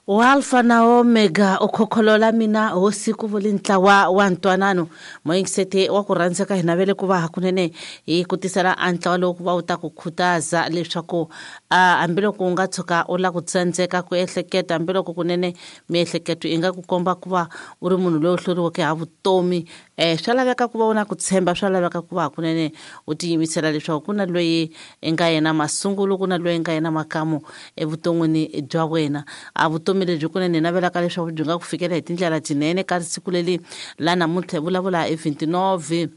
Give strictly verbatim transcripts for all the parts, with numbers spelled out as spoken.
Wa Alpha na Omega u khokholola mina hosi ku vuli ntlawa wa ntwanano moyingisete wa ku rhandzeka hi navele ku va hakunene hi ku tisela a ntlawa lowu ku va wu ta ku khutaza leswaku hambiloko u nga tshuka u lava ku tsandzeka ku ehleketa, hambiloko kunene miehleketo yi nga ku komba ku va u ri munhu loyi u hluriweke ha vutomi, um swa laveka ku va u na ku tshemba, swa laveka ku va hakunene u tiyimisela leswaku ku na loyi i nga yena masungulo, ku na loyi i nga yena makamu evuton'wini bya wena. A vutomi lebyi kunene hi navelaka leswaku byi nga ku fikela hi tindlela tinene ka siku leri la namuntlha hi vulavula hi vinte e nove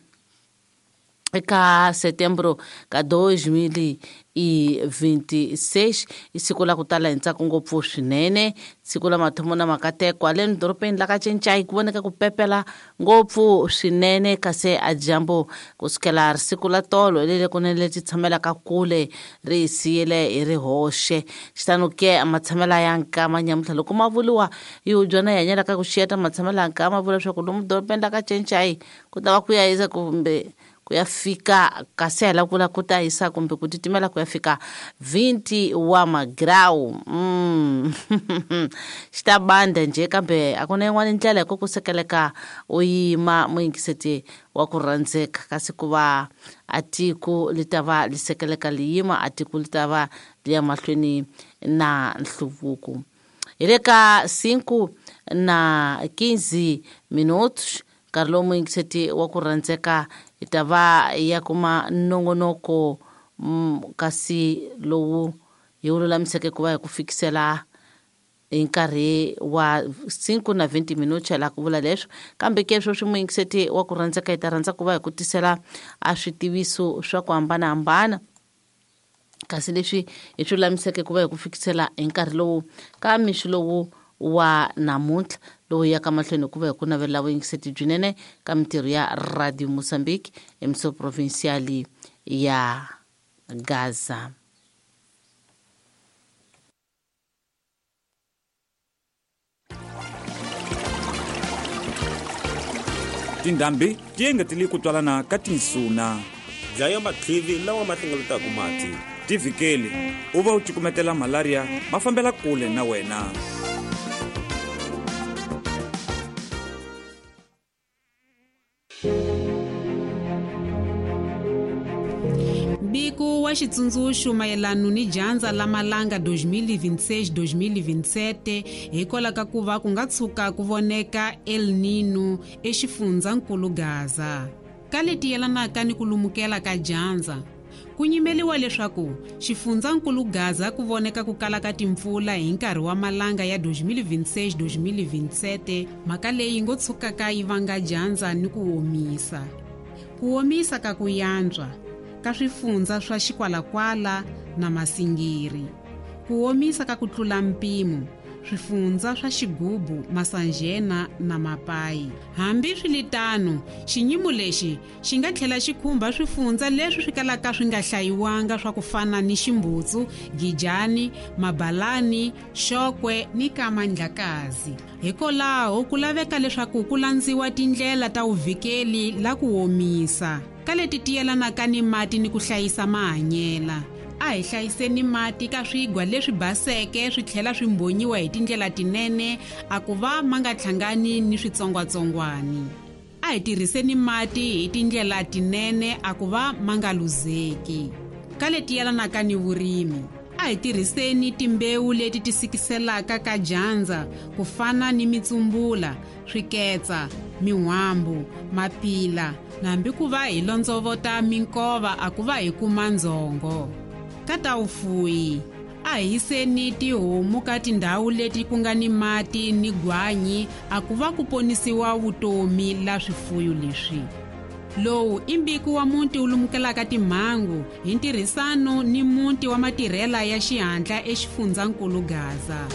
eka setembro ka dois mil e vinte e seis, i siku la ku tala hi ntsako ngopfu swinene, siku la mathomo na makateko. Haleni dorobeni la ka Cincai ku voneka ku pepela ngopfu swinene, kasi a dyambu kusukela siku la tolo lele kunene leti tshamelaka kule ri hi siyile hi ri hoxe. Xitano ke matshamela ya nkama nyamuntlha loko ma vuriwa hi hubyana hi hanyelaka ku xiyeta matshamela ya nkama, vula leswaku lomu dorobeni la ka Cincai ku ta va ku ya hisa kumbe ku ya fika, kasi hi la ku vula ku ta hisa kumbe ku titimela ku ya fika vinte wa magrau. mm. xi ta banda njhe, kambe a ku na yin'wana ndlela hi ku ku sekeleka u yima muyingiseti wa ku rhandzeka, kasi ku va a tiko li ta va li sekeleka li yima, a tiko li ta va li ya mahlweni na nhluvuko. Hi le ka cinco na quinze minutos nkarhi lowu muyingiseti wa ku rhandzeka hi ta va ya kuma nongonoko, kasi lowu hi wu lulamiseke ku va hi ku fikisela hi nkarhi wa cinco na vinte minutos la ku vula leswo. Kambe ke sweswi muyingiseti wa ku rhandzeka hi ta rhandza ku va hi ku tisela a switiviso swa ku hambanahambana, kasi leswi hi swi lulamiseke ku va hi ku fikisela hi nkarhi lowu ka mixo lowu wa namuntlha lowu yaka mahlweni ku va hi ku navelela vuyingiseti byinene ka mintirho ya Radio Mozambique emissão provincial ya Gaza. Tindhambi ti engetele ku twalana ka tinsuna. Dlaya matlivi lawa ma hlengeletaka mati. Tivhikeli u va u cukumetela malaria ma fambela kule na wena. Mbiko wa xitsundzuxo mayelano ni dyandza la malanga twenty twenty-six twenty twenty-seven hikwalaho ka ku va ku nga tshuka ku voneka El Nino exifundzankulu Gaza. Ka leti yelanaka ni ku lumukela ka dyandza, ku nyimeliwa leswaku xifundzankulu Gaza ku voneka ku kala ka timpfula hi nkarhi wa malanga ya twenty twenty-six twenty twenty-seven, mhaka leyi ngo tshukaka yi vanga dyandza ni ku omisa, ku omisa ka ku yantswa ka swifundza swa Xikwalakwala na Masingiri, ku omisa ka ku tlula mpimo swifundza swa Xigubu, Masanjena na Mapayi. Hambi swiritano, xinyimo lexi xi nga tlhela xi khumba swifundza leswi swi kalaka swi nga hlayiwanga swa ku fana ni Ximbutsu, Gijani, Mabalani, Xokwe ni Kamandlakazi. Hikwalaho ku laveka leswaku ku landziwa tindlela ta vuvhikeli la ku omisa ka leti ti yelanaka ni mati ni ku hlayisa mahanyela. A hi hlayiseni mati ka swigwa leswi baseke swi tlhela swi mbhonyiwa hi tindlela tinene a ku va ma nga hlangani ni switsongwatsongwani. A hi tirhiseni mati hi tindlela tinene a ku va ma nga luzeki. Ka leti yelanaka ni vurimi, a hi tirhiseni timbewu leti ti sikiselaka ka dyandza ku fana ni mitsumbula, swiketsa, min'wambu, mapila, na hambi ku va hi londzovota minkova a ku va hi kuma ndzhongo. Ka ta vufuyi, a hi yiseni tihomu ka tindhawu leti ku nga ni mati ni gwanyi a ku va ku ponisiwa vutomi la swifuyo leswi. Lowu i mbiko wa muti wu lumukelaka timhangu hi ntirhisano ni muti wa matirhela ya xihatla exifundzankulu Gaza.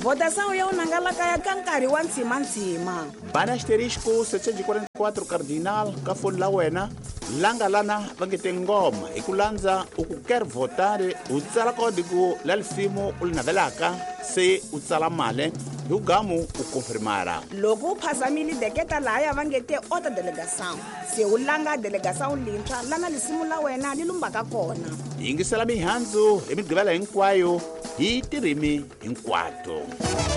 Votação ya unangalaka ya ka nkarhi wa ntshimantshima. Bana asterisco setecentos e quarenta e quatro cardinal ka foni la wena langa lana va nge te ngoma hi ku landza u ku quer votar u tsala código la lisimu u li navelaka se u tsala mali hi ugamu u confirmara. Loko u phazamile deketa lahaya va nge te ota delegação se u langa delegação lintshwa lana lisimu la wena li lumbaka kona. Yingisela mihandzu hi migqivela hinkwayo hi tirimi hinkwato.